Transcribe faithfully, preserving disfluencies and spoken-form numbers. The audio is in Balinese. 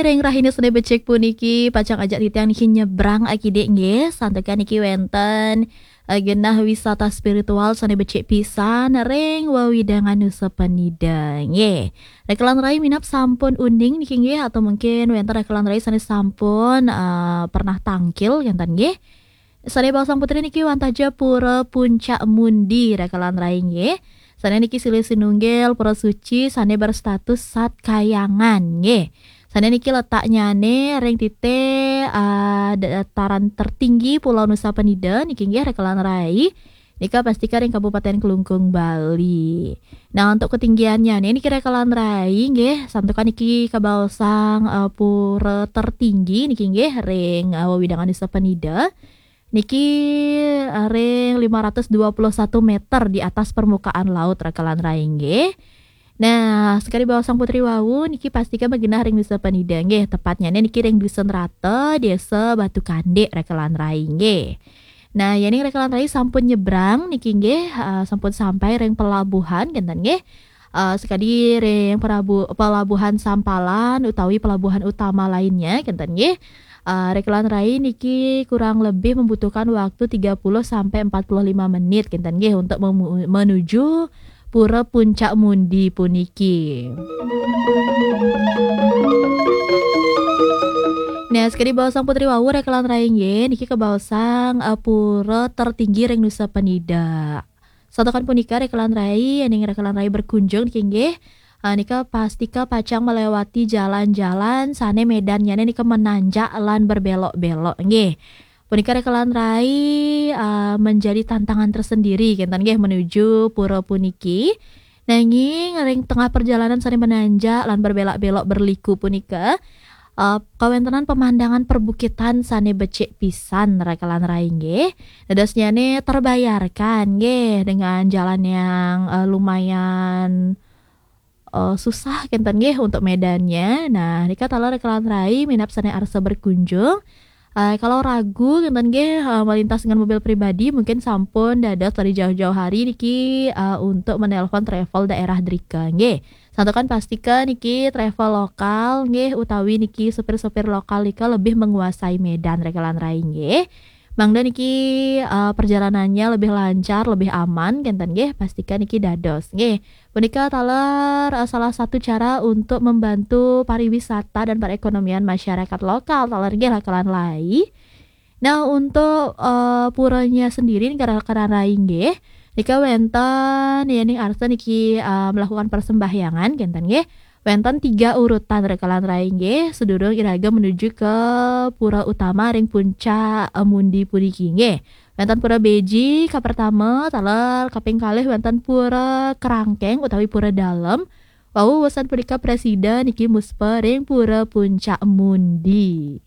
Ing rahina sane becik puniki pacang ajak titiang niki nyebrang akidik nggih, santukan niki wenten eh, genah wisata spiritual sane becik pisan ring wewidangan Nusa Penida nggih. Rekelan rai minab sampun uning niki nggih, atau mungkin wenten rekelan rai sane sampun eh, pernah tangkil kenten nggih. Sane baosang putri niki wantah ja Pura Puncak Mundi rekelan rai nggih. Sane niki silih sinunggil pura suci sane berstatus Sat Kayangan nggih. Sane niki letaknyane ring tite ah, dataran tertinggi Pulau Nusa Penida niki nggih rekelan rai. Nika pastika ring Kabupaten Klungkung, Bali. Nah, untuk ketinggiannyane niki rekelan rai nggih, santukan niki kabaosang eh, pura tertinggi niki nggih ring eh, wewidangan Nusa Penida. Niki eh, ring lima ratus dua puluh satu meter di atas permukaan laut rekelan rai nggih. Nah, sekadi baosang putri wau niki pastika magenah ring Nusa Penida nggih, tepatnyane niki ring Dusun Rata, Desa Batu Kandik rekelan rai nggih. Nah, yening rekelan rai sampun nyebrang niki nggih, eh, sampun sampai ring pelabuhan kenten nggih. Eh, sekadi ring perabu- pelabuhan Sampalan utawi pelabuhan utama lainnya kenten nggih. Eh, rekelan rai niki kurang lebih membutuhkan waktu tiga puluh sampai empat puluh lima menit kenten nggih untuk memu- menuju Pura Puncak Mundi puniki. Nah, sekadi baosang putri wau rekelan rai nggih, niki kabaosang eh, pura tertinggi ring Nusa Penida. Santukan punika rekelan rai, yening rekelan rai berkunjung niki nggih. Eh, nika pastika pacang melewati jalan-jalan sane medannyane nika menanjak lan berbelok-belok nggih. Punika rekelan rai eh, menjadi tantangan tersendiri kenten nggih menuju pura puniki. Nanging ring tengah perjalanan sane menanjak lan berbelok-belok berliku punika, eh, kawentenan pemandangan perbukitan sane becik pisan rekelan rai nggih. Dadosnyane terbayarkan nggih dengan jalan yang eh, lumayan eh, susah kenten nggih untuk medannya. Nah, nika taler rekelan rai minab sane arsa berkunjung. Eh, kalau ragu kenten nggih eh, melintas dengan mobil pribadi, mungkin sampun dados dari jauh-jauh hari niki eh, untuk menelpon travel daerah drika nggih. Santukan pastika niki travel lokal nggih utawi niki supir-supir lokal nika lebih menguasai medan rekelan rai nggih. Mangda niki eh, perjalanannya lebih lancar, lebih aman kenten nggih, pastika niki dados nggih. Punika taler eh, salah satu cara untuk membantu pariwisata dan perekonomian masyarakat lokal taler nggih rekelan rai. Nah, untuk eh, puranya sendiri niki rekelan rai nggih. Nika wenten yening arsa niki eh, melakukan persembahyangan kenten nggih. Wenten tiga urutan rekelan rai nggih, sedurung iraga menuju ke pura utama ring puncak eh, Mundi puniki nggih. Wenten Pura Beji kapertama, taler kaping kalih wenten Pura Kerangkeng utawi Pura Dalem. Wau wusan punika prasida niki muspa ring Pura Puncak Mundi.